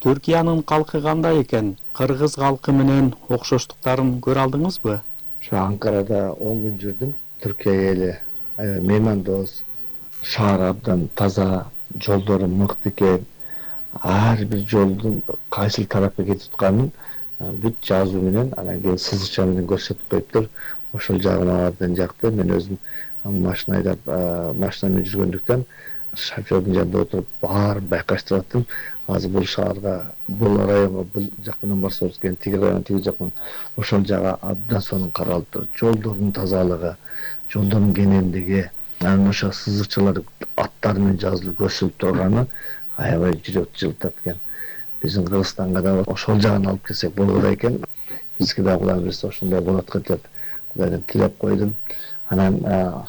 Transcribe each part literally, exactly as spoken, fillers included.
Түркиянын калкы кандай экен? Кыргыз калкы менен окшоштуктарын көрө алдыңызбы? Şu Ankara'da on gün жүрдüm. Türkiye eli mehmandost, şahar abdan taza, жолдору мыкты экен. Ар бир жолдун кайсыл тарапка кетип атканын бүт жазуу менен, анан кийин сызыкча менен көрсөтүп коюптур. Ошол жагы мага абдан жакты. Мен өзүм машина айдап, машина менен жүргөндүктөн шофёрдун жанында отуруп баарын байкаштырып аттым. Азыр бул шаарга, бул районго бул жак менен барсабыз экен, тиги район, тиги жак менен ошол жагы абдан сонун каралып тур. Жолдордун тазалыгы, жолдордун кенендиги, анан ошо сызыкчалар аттары менен жазылып көрсөтүп турганы аябай жүрөктү жылытат экен. Биздин Кыргызстанга да ошол жагын алып келсек болот экен. Бизге да Кудай берсе ошондой болот деп Кудайдан тилеп койдум. Анан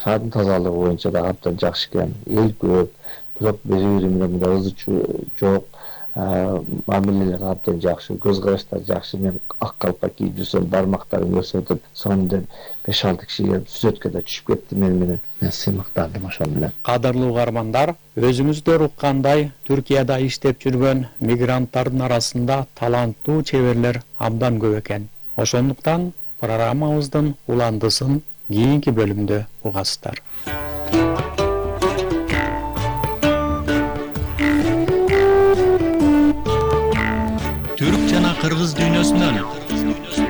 шаардын тазалыгы боюнча да абдан жакшы экен. Эл көп, бирок бири-бири менен мындай ызы чуу жок. Мамилелер абдан жакшы, көз караштар жакшы. Мен ак калпак кийип жүрсөм, бармактарын көрсөтүп, сонун беш алты киши келип сүрөткө да түшүп кетти мени менен. Мен сыймыктандым ошол менен. Кадырлуу угармандар, өзүңүздөр уккандай, Түркияда иштеп жүргөн мигранттардын арасында таланттуу чеберлер абдан көп экен. Ошондуктан программабыздын уландысын кийинки бөлүмдө угасыздар. Түрк жана кыргыз дүйнөсүнөн